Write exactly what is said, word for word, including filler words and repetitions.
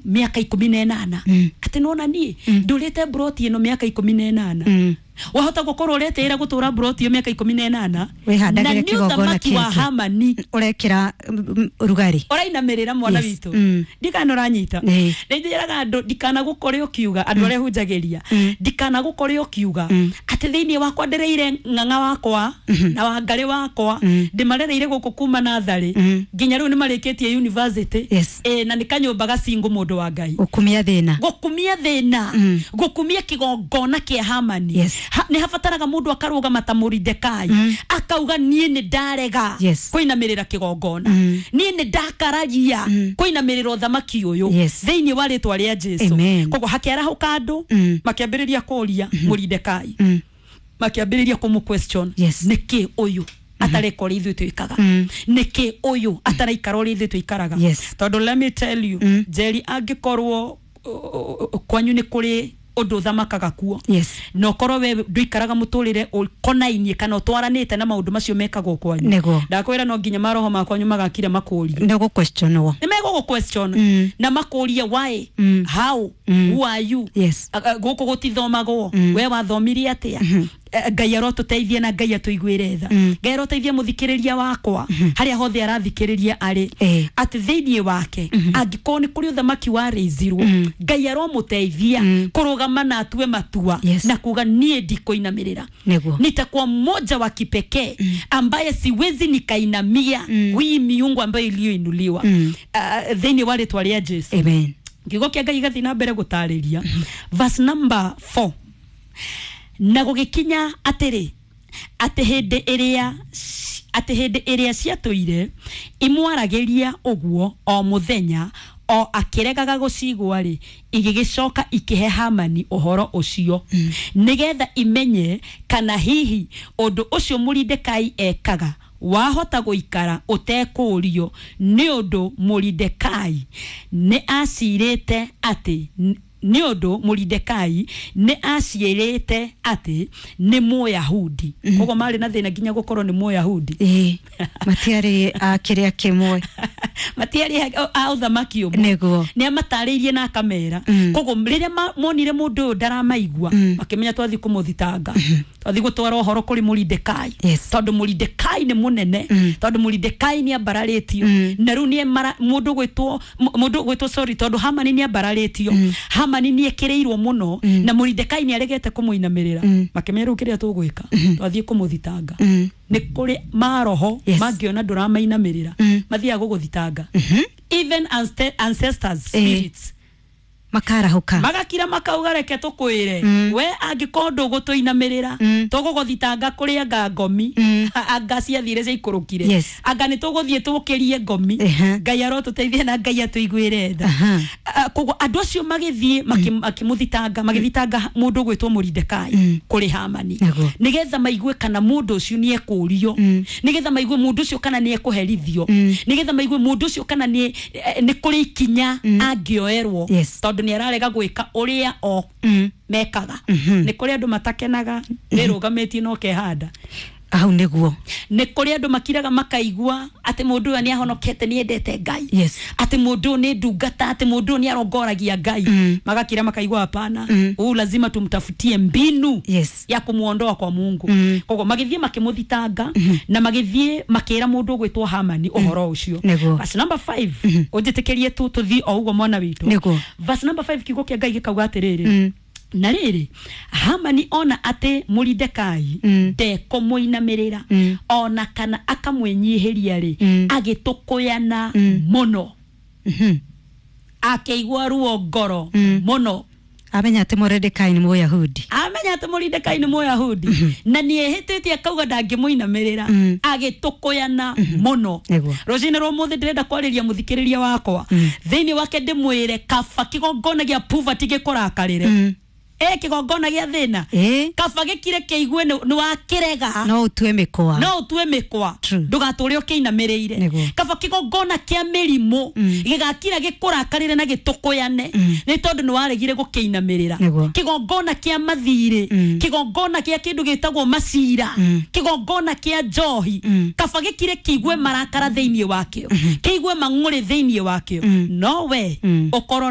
mĩaka ikũmi na ĩnana, atĩ nona niĩ ndũrĩte mburoti ĩno mĩaka ikũmi na ĩnana. Mm. Wahota gũkorwo ũretĩĩra gũtũra mburoti ĩyo mĩaka ikũmi na ĩnana, na Wĩhandagĩre nĩ kĩgongona ũthamaki wa kĩngĩ. Hamani Ũrekĩra mm, rugarĩ. Ũrainamĩrĩra, mwana Yes. witũ. Mm. Ndikana ũranyita. Ĩĩ. Nĩ njĩraga andũ, ndikanagũkore ũkiuga, andũ arĩa hunjagĩria, ndikanagũkore ũkiuga atĩ thĩinĩ wakwa ndĩrĩire ng'ang'a wakwa na wangarĩ wakwa, ndĩmarereire gũkũ kuma natharĩ nginya rĩu nĩ marĩkĩtie university. Yes. Ĩ, na nĩ kanyũmba gacingũ, mũndũ wa Ngai. Gũkumia thĩna. Gũkumia thĩna, gũkumia kĩgongona kĩa Hamani. Yes. Ha, nĩ habataraga mũndũ akarũgama ta Mũridekai, akauga, "Niĩ nĩ ndarega Yes. kũinamĩrĩra kĩgongona, niĩ nĩ ndakararia kũinamĩrĩra ũthamaki ũyũ Yes. thĩinĩ wa rĩtwa rĩa Jesu." Amen. Koguo hakĩarahũka andũ, makĩambĩrĩria kũria Mũridekai, makĩambĩrĩria kũmũ question, Yes. nĩkĩ ũyũ atareka ũrĩa ithuĩ twĩkaga? Nĩkĩ ũyũ ataraikara ũrĩa ithuĩ tũikaraga? Yes. Tondũ let me tell you, Njeri, angĩkorwo uh, uh, kwanyu nĩ kũrĩ ũndũ ũthamakaga kuo, Yes. na ũkorwo we ndũikaraga mũtũrĩre ũkonainie kana ũtwaranĩte na maũndũ macio mekagwo kwanyu, Nĩguo. ndakwĩra no nginya maroho ma kwanyu magakira makũrie. Nĩ gũ-questionwo. Nĩ megũgũ question na makũrie, "Why? How? Who are you?" Yes. A- a- gũkũ gũtithomagwo, we wathomirie atĩa? Eh, ngai arotũteithie na Ngai atũiguĩre tha. Ngai aroteithia mũthikĩrĩria wakwa harĩa hothe arathikĩrĩria arĩ, Eh. atĩ thĩinĩ wake angĩkorwo nĩ kũrĩ ũthamaki warĩizirwo, Ngai aromũteithia kũrũgama na atue matua Yes. na kuga, "Niĩ ndikũinamĩrĩra." Nĩguo. Nitakuwa mmoja wa kipekee ambaye siwezi nikainamia hii miungu ambayo iliyoinuliwa mm. uh, thĩinĩ wa rĩtwa rĩa Jesu. Amen. Kiugo kĩa Ngai gĩgathiĩ na mbere gũtarĩria, verse number four: "Na gũgĩkinya atĩrĩ, atĩ hĩndĩ ĩrĩa atĩ hĩndĩ ĩrĩa ciatũire imwaragĩria ũguo o mũthenya, o akĩregaga gũcigua-rĩ, igĩgĩcoka ikĩhe Hamani ũhoro ũcio, nĩgetha imenye kana hihi ũndũ ũcio Mũridekai ekaga wahota gũikara ũtekũũrio, nĩ ũndũ Mũridekai nĩ acirĩte atĩ nĩ ũndũ Mũridekai nĩ aciĩrĩte atĩ nĩ Mũyahudi." Koguo marĩ na thĩna nginya gũkorwo nĩ Mũyahudi. Ĩĩ, matiarĩ a kĩrĩa kĩmwe. Matiarĩ a ũthamaki ũmwe. Nĩguo. Nĩ amatarĩirie na akamera. Koguo rĩrĩa ma- monire mũndũ ũyũ ndaramaigua, makĩmenya twathi kũmũthitanga, twathi gũtwara ũhoro kũrĩ Mũridekai, Yes. tondũ Mũridekai nĩ mũnene, tondũ Mũridekai nĩ ambararĩtio na rĩu nĩ mara- mũndũ gwĩtwo mũndũ gwĩtwo, sorry, tondũ Hamani nĩ ambararĩtio, Hamani nĩ ekĩrĩirwo mũno, na Mũridekai nĩ aregete kũmũinamĩrĩra. Makĩmenya rĩu kĩrĩa tũgwĩka, twathiĩ kũmũthitanga. Nĩ kũrĩ maroho Yes. mangĩona ndũramainamĩrĩra, mathiaga gũgũthitanga, even ance- ancestors spirits. Makarahũka. Magakira makauga, "Reke tũkwĩre, we angĩkorwo ndũgũtũinamĩrĩra, tũgũgũthitanga kũrĩ anga ngomi, anga ciathire ciaikũrũkire, Yes. anga nĩ tũgũthiĩ tũkĩrie ngomi." Ehe. Ngai arotũteithia na Ngai atũiguĩre tha. Aha. Ah, koguo andũ acio magĩthiĩ makĩ- makĩmũthitanga, magĩthitanga mũndũ ũgwĩtwo Mũridekai kũrĩ Hamani, Nĩguo. nĩgetha maigue kana mũndũ ũcio nĩ ekũrio, nĩgetha maigue mũndũ ũcio kana nĩ ekũherithio, nĩgetha maigue mũndũ ũcio kana nĩ eh, nĩ kũrĩ ikinya angĩoerwo, Yes. tondũ nĩ ararega gwĩka ũrĩa o mekaga. Nĩ kũrĩ andũ matakenaga wĩrũgamĩtie na ũkehanda. Hau nĩguo. Nĩ kũrĩ andũ makiraga makaigua atĩ mũndũ ũyũ nĩ ahonokete, nĩ endete Ngai, Yes. atĩ mũndũ ũyũ nĩ ndungata, atĩ mũndũ ũyũ nĩ arongoragia Ngai. Magakira makaigua, "Hapana, huyu lazima tumtafutie mbinu Yes. ya kumuondoa kwa Mungu." Koguo magĩthiĩ makĩmũthitanga na magĩthiĩ makĩra mũndũ ũgwĩtwo Hamani ũhoro ũcio. Nĩguo. Verse number five, ũnjĩtĩkĩrie tu tũthiĩ o ũguo, mwana witũ. Nĩguo. Verse number five, kiugo kĩa Ngai gĩkauga atĩrĩrĩ: "Na rĩrĩ, Hamani ona atĩ Mũridekai ndekũmũinamĩrĩra ona kana akamwĩnyihĩria rĩ, agĩtũkũyana mũno, akĩigua ruo ngoro mũno." Amenya atĩ Mũredekai nĩ Mũyahudi. Amenya atĩ Mũridekai nĩ Mũyahudi na nĩ ehĩtĩtie akauga ndangĩmũinamĩrĩra, agĩtũkũyana mũno. Nĩguo. Rũcinĩ rwa ũmũthĩ ndĩrenda kwarĩria mũthikĩrĩria wakwa thĩinĩ wake, ndĩmwĩre kaba kĩgongona gĩa poverty gĩkũrakarĩre, ĩ kĩgongona gĩa thĩna, Ĩ. kaba gĩkire kĩigue nĩ nĩ wakĩrega. No ũtue mĩkwa. No ũtue mĩkwa. True. Ndũgatũre ũkĩinamĩrĩire. Nĩguo. Kaba kĩgongona kĩa mĩrimũ gĩgakira gĩkũrakarĩre na gĩtũkũyane nĩ tondũ nĩ waregire gũkĩinamĩrĩra. Nĩguo. Kĩgongona kĩa mathirĩ, kĩgongona kĩa kĩndũ gĩtagwo macira, kĩgongona kĩa njohi, kaba gĩkire kĩigue marakara thĩinĩ wakĩo, kĩigue mang'ũrĩ thĩinĩ wakĩo, no we ũkorwo nĩ